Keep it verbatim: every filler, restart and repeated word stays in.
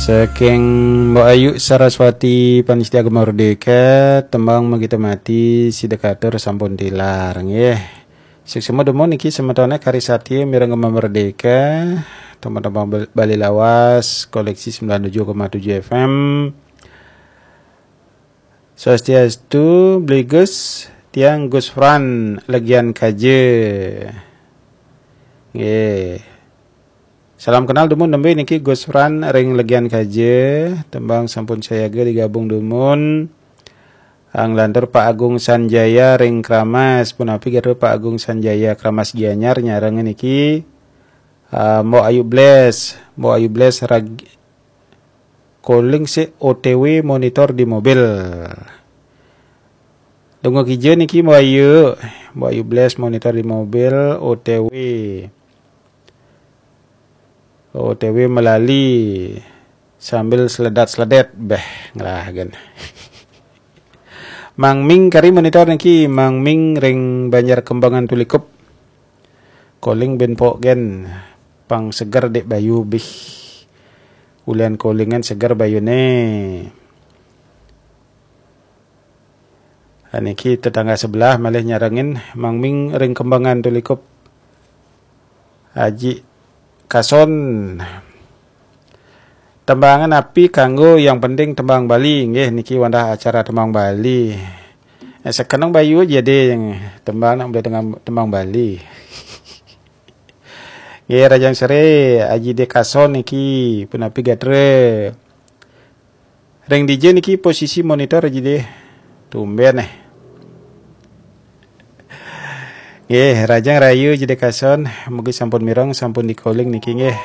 Saking Mbok Ayu Saraswati, Panitia Gema Merdeka, tembang Magita Mati, sida katur sampun tilar, nggih. Suksma dumun niki semetone kari satya mireng Gema Merdeka, teman-teman Bal-, Bali Lawas, koleksi sembilan tujuh koma tujuh F M. Swastiastu, Bli Gus, tiang Gus Fran, Legian Kaja. Nggih. Salam kenal dumun nembe niki Gus Fran ring Legian Kaja, tembang sampun sayaga digabung dumun. Anglantur Pak Agung Sanjaya ring Kramas, punapi gatra Pak Agung Sanjaya Kramas Gianyar nyareng niki. Ah, Mbok Ayu Bles, Mbok Ayu Bles rag-, calling si O T W monitor di mobil. Tunggu kija niki Mbok Ayu, Mbok Ayu Bles monitor di mobil, O T W. O T W melali sambil seledat-seledet, beh, ngelagen. Mang Ming kari monitor niki, Mang Ming ring Banjar Kembangan Tulikup. Calling ben pok gen, pang seger dek bayu bih. Ulian callingan seger bayune. Niki tetangga sebelah malih nyarengin, Mang Ming ring Kembangan Tulikup. Aji Kason. Tembangan api kanggo yang penting tembang Bali, nggih niki wandah acara tembang Bali. Eh, sekeneng bayu aja deh yang tembang nak boleh tembang, tembang Bali. Nggih, Rajang Sere, Aji De Kason niki, punapi gatra. Ring D J niki posisi monitor Aji De. Tumben eh. Nggih, Rajang Rayu Aji De Kason, mugi sampun mireng, sampun di-calling niki nggih.